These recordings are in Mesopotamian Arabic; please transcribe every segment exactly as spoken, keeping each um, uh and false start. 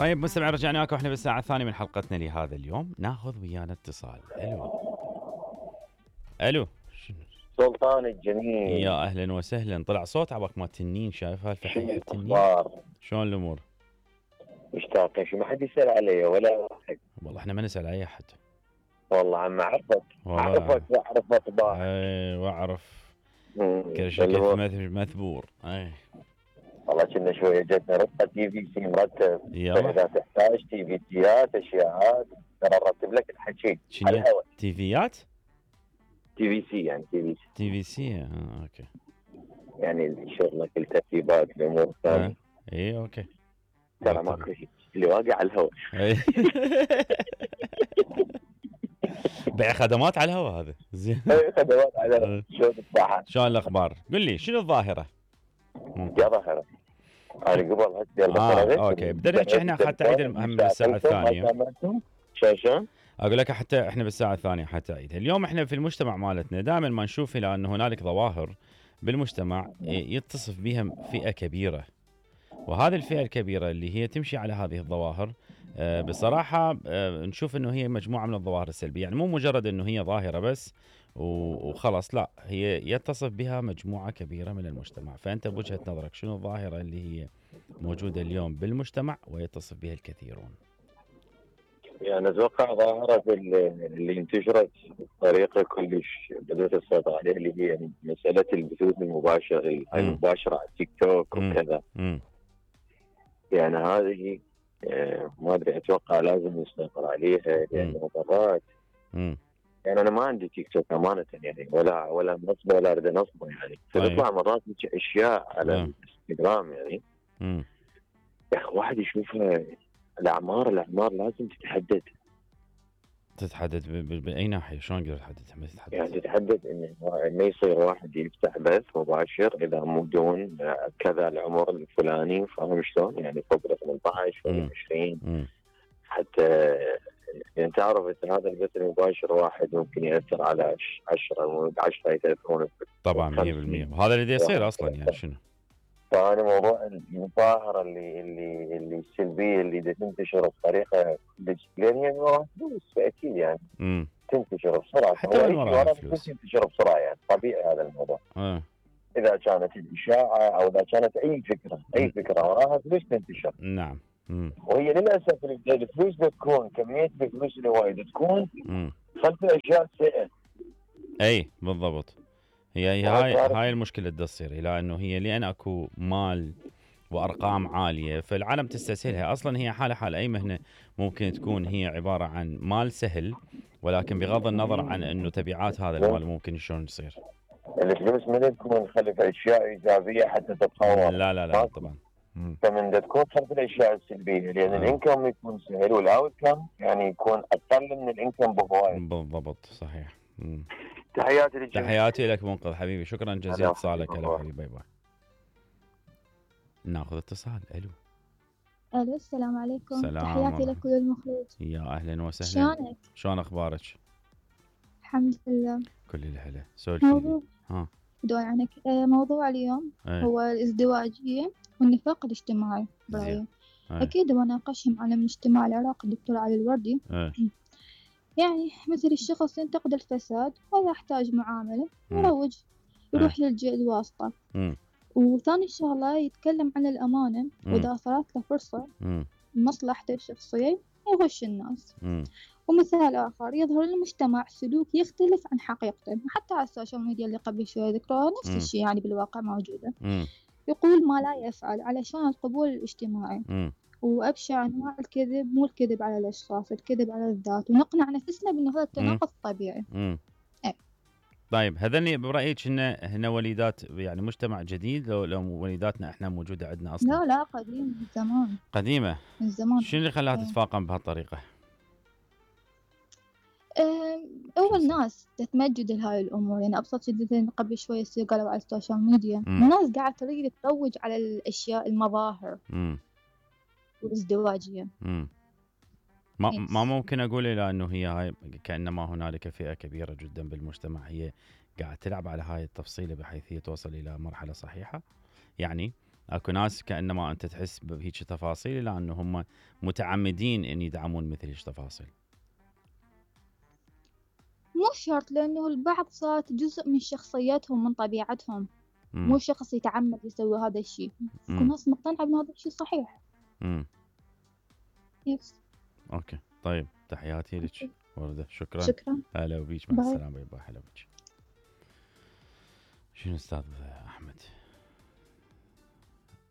طيب مستمع، رجعنا لكم احنا بالساعة الثانية من حلقتنا لهذا اليوم. ناخذ ويانا اتصال. الو الو سلطان الجميل، يا اهلا وسهلا. طلع صوت عبك ما تنين، شايف هالفحيحة التنين؟ اخبار؟ شلون الامور؟ مشتاقين، شو ما حد يسال علي ولا واحد. والله احنا ما نسأل اي احد. والله عم اعرفك اعرفك واعرف اطباع. اي واعرف كل شيء مثبور. اي والله كنا شويه جتنا ربطه تي في سي مرتب، يلا اذا تحتاج تي في سيات اشياءات ترى نرتب لك الحكي على الهواء. تي فيات تي في سي يعني تي في سي تي في سي اه اوكي، يعني شغلك الترتيبات الامور الثانيه. آه. اي اوكي ترى ماكو شيء اللي واقع على الهواء. بيع خدمات على الهواء هذا. زين خدمات على الهواء. شلون الصحة؟ شلون الاخبار؟ قل لي شنو الظاهره؟ يا ظاهره انا قبل هسه اه اوكي بدنا نحكي احنا حتى عيد المهم بالساعه الثانيه. شو اقول لك حتى احنا بالساعه الثانيه حتى عيد اليوم. احنا في المجتمع مالتنا دائما ما نشوف الى ان هنالك ظواهر بالمجتمع يتصف بها فئه كبيره، وهذه الفئه الكبيره اللي هي تمشي على هذه الظواهر آه بصراحه آه نشوف انه هي مجموعه من الظواهر السلبيه، يعني مو مجرد انه هي ظاهره بس وخلاص، لا هي يتصف بها مجموعه كبيره من المجتمع. فانت بوجهه نظرك شنو الظاهره اللي هي موجوده اليوم بالمجتمع ويتصف بها الكثيرون؟ يعني اتوقع ظاهره اللي انتشرت بطريقه كلش بدات السيطره عليها، اللي هي مساله البثوث المباشره المباشره على التيك توك وكذا. يعني هذه ما ادري، اتوقع لازم نسيطر عليها لانه مرات يعني انا ما عندي تيك توك امانه، يعني ولا ولا نصبه ولا اريد نصبه، يعني فتطلع مرات اشياء على الانستغرام يعني يا اخي واحد يشوفها. الاعمار الاعمار لازم تتحدد. تتحدد باي ناحيه؟ شلون قدرت تحدد؟ تتحدد يعني تتحدد انه ما يصير واحد يفتح بث مباشر اذا مو بدون كذا العمر الفلاني، فاهم شلون؟ يعني فوق ال ثمانية عشر ولا عشرين حتى يعني تعرف ان هذا البث المباشر واحد ممكن ياثر على عشرة عشرة يتاثرون طبعا مية بالمية، وهذا اللي يصير اصلا. يعني شنو؟ فأنا موضوع الظاهرة اللي اللي اللي السلبية اللي تنتشر بطريقة لأن هي وراها فلوس أكيد يعني مم. تنتشر بسرعة، حتى من وراها فلوس تنتشر بسرعة، يعني طبيعي هذا الموضوع. آه. إذا كانت الإشاعة أو إذا كانت أي فكرة أي مم. فكرة وراها فلوس تنتشر. نعم. مم. وهي للأسف الفلوس بتكون كمية الفلوس اللي وايد تكون مم. خلف أشياء سيئة. أي بالضبط. هي هي هاي هاي المشكلة اللي تصير، الى انه هي لان اكو مال وارقام عالية فالعالم تستسهلها. اصلا هي حالة حال اي مهنة ممكن تكون هي عبارة عن مال سهل، ولكن بغض النظر عن انه تبعات هذا المال ممكن شلون تصير. الفلوس من تكون خلف اشياء ايجابية حتى تتطور. لا لا لا طبعا. فمن تكون خلف الاشياء السلبية، لان آه. الانكم يكون سهل والاوت كم يعني يكون اقل من الانكم بهواي. بالضبط صحيح. مم. تحياتي لك. تحياتي لك منقذ حبيبي، شكرا جزيلا اتصالك. هلا حبيبي، باي باي. ناخذ اتصال. الو الو السلام عليكم. سلام. تحياتي لك وللمخرج. يا اهلا وسهلا. شلونك؟ شلون اخبارك؟ الحمد لله كل الهلا. سولفي. موضوع ها بدون عنك. موضوع اليوم ايه؟ هو الازدواجية والنفاق الاجتماعي برأيي. ايه؟ اكيد بناقشهم على من اجتماع العراق الدكتور علي الوردي. ايه؟ يعني مثل الشخص ينتقد الفساد وإذا يحتاج معاملة يروج يروح ايه؟ للجهة الواسطة. مم. وثاني شغلة يتكلم عن الأمانة، وإذا صارت له فرصة مصلحته الشخصية يغش الناس. مم. ومثال آخر يظهر للمجتمع سلوك يختلف عن حقيقته، حتى على السوشيال ميديا اللي قبل شوي ذكروها نفس الشيء يعني بالواقع موجودة. مم. يقول ما لا يفعل علشان القبول الاجتماعي. مم. وأبشع أنواع الكذب مو الكذب على الأشخاص، الكذب على الذات، ونقنع نفسنا بأنه هذا التناقض طبيعي. مم. أي. طيب هذني برأيك هن هن وليدات يعني مجتمع جديد لو لو وليداتنا احنا موجودة عندنا اصلا؟ لا لا قديم من زمان. قديمة من زمان. شنو اللي خلاها تتفاقم بهالطريقة؟ أه أول ناس تتمجد لهاي الأمور، يعني أبسط شيء قبل شوي يصير قالوا على السوشيال ميديا. مم. الناس قاعدة تريد تروج على الأشياء المظاهر مم. والازدواجية. مم. ما ما ممكن اقول الى انه هي هاي كانما هنالك فئه كبيره جدا بالمجتمع هي قاعد تلعب على هاي التفصيله بحيث هي توصل الى مرحله صحيحه. يعني اكو ناس كانما انت تحس بهيك تفاصيل لانه هم متعمدين ان يدعمون مثل هيك تفاصيل. مو شرط، لأنه البعض صارت جزء من شخصيتهم من طبيعتهم. مم. مو شخص يتعمد يسوي هذا الشيء. اكو مم. ناس مقتنعة بأن هذا الشيء صحيح. امم يس. اوكي طيب، تحياتي لك وردة، شكرا. شكرا. هلا بيك، مع باي. السلامه. باي. هلا بيك. شنو استاذ احمد؟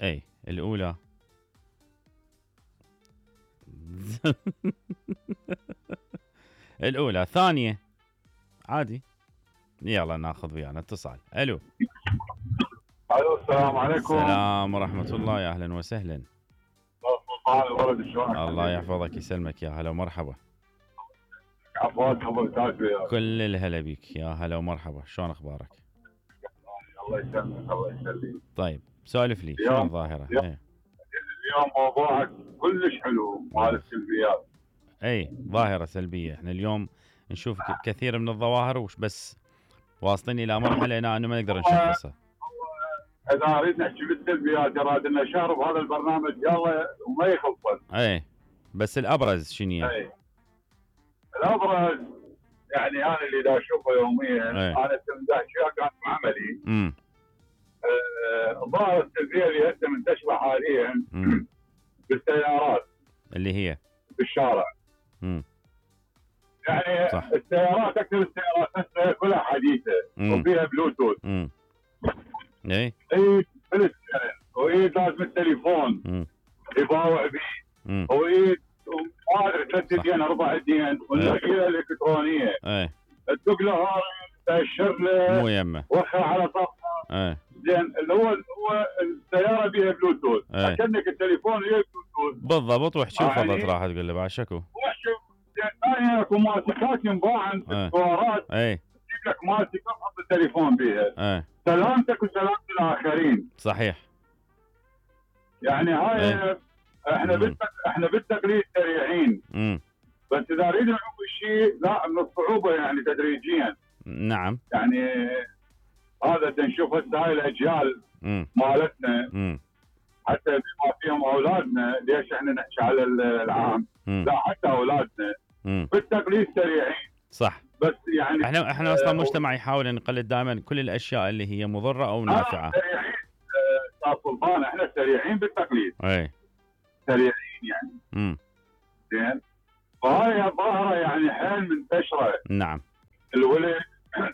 اي الاولى الاولى ثانيه عادي. يلا ناخذ ويانا اتصال. الو. الو السلام عليكم. السلام ورحمه الله، يا اهلا وسهلا. الولد شلونك؟ الله يحفظك يسلمك، يا هلا ومرحبا. عفواك ابو تاج وياك. كل الهلا بيك، يا هلا ومرحبا. شلون اخبارك؟ الله يسلمك الله يسلمك. طيب سولف لي، شنو الظاهره؟ اليوم, ايه. اليوم موضوعك كلش حلو مال السلبيات. اي ظاهره سلبيه. احنا اليوم نشوف ك- كثير من الظواهر، وش بس واصلين الى مرحله هنا انه ما نقدر نشخصها. اذا اريد نحكي بالسلبيات اراد لنا شهر بهذا البرنامج يلا وما يخلصن. اي بس الابرز شنو هي؟ اي الابرز يعني انا اللي دا اشوفه يوميا. أي. انا تمدح اشياء كانت بعملي. امم آه، الظاهره السلبيه اللي هسه منتشره حاليا امم بالسيارات اللي هي بالشارع. امم يعني صح. السيارات اكثر السيارات هسه كلها حديثه مم. وفيها بلوتوث. امم اي ايد بالسكرين وايد لازم التليفون امم يباوع به امم وايد ما ادري ثلاث صح. دين اربع دين والاجهزه الالكترونيه اي تدق له هاي تاشر له مو يمه. وخر على صفحه. اي زين اللي هو هو السياره بيها بلوتوث أي. كأنك التليفون وياه بلوتوث. بالضبط. وحشي يعني- وفضت راح تقول له بعد شكو. وحشة. زين ثاني اكو ماسكات ينباعن في أي. السوارات اي تجيب لك ماسكه تحط التليفون بيها. اي سلامتك وسلامة الآخرين. صحيح. يعني هاي أي. احنا مم. بالتق... احنا بالتقليد سريعين، امم بس اذا اريد نعوف الشيء لا من الصعوبه يعني تدريجيا. نعم. يعني هذا نشوف هسه هاي الاجيال امم مالتنا امم حتى بما فيهم اولادنا، ليش احنا نحكي على العام؟ امم لا حتى اولادنا امم بالتقليد سريعين. صح. بس يعني احنا احنا اصلا مجتمع يحاول ان نقلد دائما كل الاشياء اللي هي مضره او نافعه. آه سريعين. آه، استاذ سلطان احنا سريعين بالتقليد اي سريعين يعني. امم زين فهاي ظاهره يعني حيل منتشره. نعم. الولد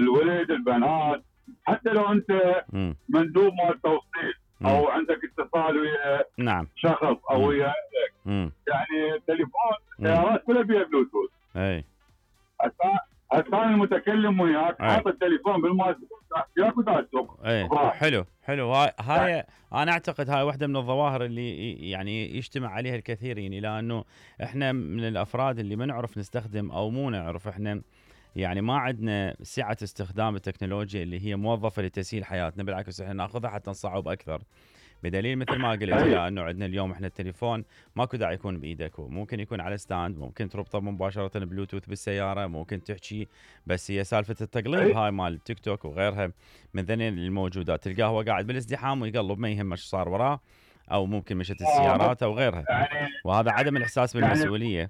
الولد البنات حتى لو انت امم مندوب مال توصيل مم. او عندك اتصال ويا نعم. شخص او مم. ويا امم يعني تليفون مم. سيارات كلها بيها بلوتوث. اي هسه انا المتكلم وياك أي. حاط التليفون بالماسك وياك وتاسوق. اي صح. حلو حلو. هاي هاي انا اعتقد هاي واحده من الظواهر اللي ي- يعني يجتمع عليها الكثيرين، الى انه احنا من الافراد اللي ما نعرف نستخدم او مو نعرف، احنا يعني ما عندنا سعه استخدام التكنولوجيا اللي هي موظفه لتسهيل حياتنا، بالعكس احنا ناخذها حتى نصعب اكثر. بدليل مثل ما قلت أي. الى انه عندنا اليوم احنا التليفون ماكو داعي يكون بايدك، ممكن يكون على ستاند، ممكن تربطه مباشره بلوتوث بالسياره، ممكن تحكي. بس هي سالفه التقليب أي. هاي مال تيك توك وغيرها من ذنين الموجودات، تلقاه هو قاعد بالازدحام ويقلب ما يهمه ايش صار وراه، او ممكن مشت السيارات او غيرها. يعني وهذا عدم الاحساس يعني- بالمسؤوليه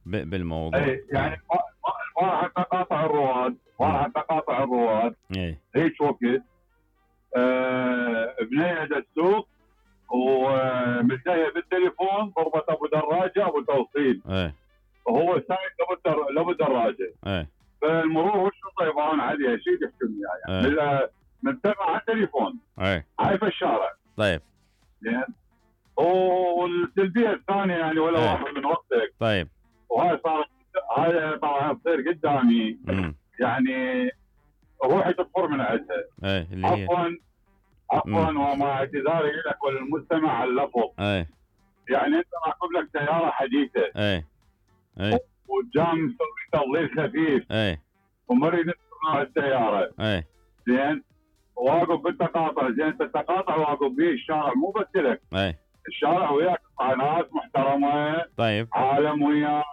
ب- بالموضوع. أي يعني ما ما- ما راح تقاطع الرواد ما راح تقاطع الرواد اي هيك وقت. آه بنيه السوق وملتهيه بالتليفون ضربت ابو دراجه ابو توصيل اي وهو سايق لابو در- لابو دراجه. اي فالمرور والشرطه يبغون عليها شيء تحكم أي. يعني من- منتبه على التليفون اي هاي في الشارع. طيب زين والسلبيه الثانيه يعني ولا أي. واحد من وقتك طيب وهاي صارت هاي طبعا تصير قدامي امم يعني روحي تطفر من عندها. اي اللي هي عفوا عفوا مم. ومع اعتذاري لك وللمستمع على اللفظ. اي يعني انت راكب لك سياره حديثه اي اي وجام مسوي تضليل خفيف اي ومريض نوع السياره. اي زين واقف بالتقاطع. زين انت التقاطع واقف به الشارع مو بس لك اي الشارع وياك ناس محترمه طيب عالم وياك.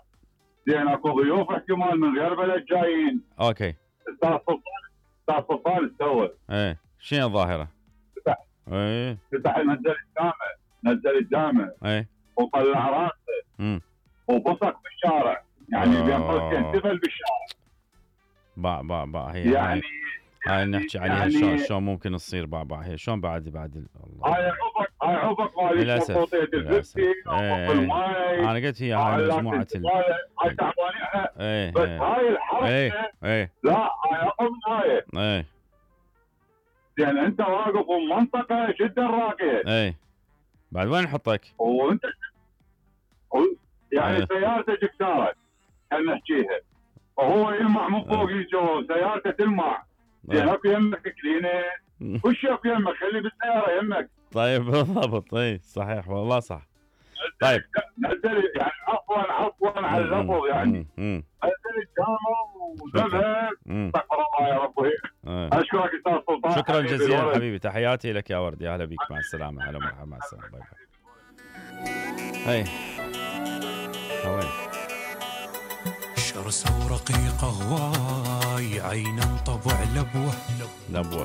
زين اكو ضيوف احتمال من غير بلد جايين. اوكي استاذ سلطان استاذ سلطان استوى اي شنو الظاهره؟ ايه فتح نزل الجامع نزل الجامع ايه وطلع راسه امم وبصق بالشارع، يعني آه. بين قوسين تفل بالشارع. باع باع باع هي يعني هاي هاي نحكي عليها يعني شلون شلون ممكن تصير باع باع هي شلون بعد بعد ال- الله هاي عبق هاي عبق مالت للاسف مخطوطيه للاسف الفلسي ايه عبق ايه الماي انا قلت هي هاي آلات مجموعه ال... الزبالة، هاي تعبانين احنا. ايه بس ايه هاي الحركه ايه ايه لا هاي اقل من هاي، ايه لان انت واقف بمنطقه جدا راقيه ايه بعد وين نحطك؟ وانت و- يعني إيه. سيارتك اكسرت خلينا نحكيها وهو يلمع من فوق يجو سيارته تلمع، زين إيه. اكو يمك كلينه كل شيء اكو يمك، خلي بالسياره يمك. طيب بالضبط اي صحيح والله صح. طيب نزل يعني عفوا عفوا على اللفظ يعني امم نزل الجامع وذهب امم استغفر الله يا ربي. اشكرك استاذ سلطان، شكرا حبيبي جزيلا الولد. حبيبي، تحياتي لك يا ورد، يا هلا بيك، مع السلامه، هلا مرحبا، مع السلامه، باي باي. هاي هوين شرسة ورقيقة هواي، عينا طبع لبوة لبوه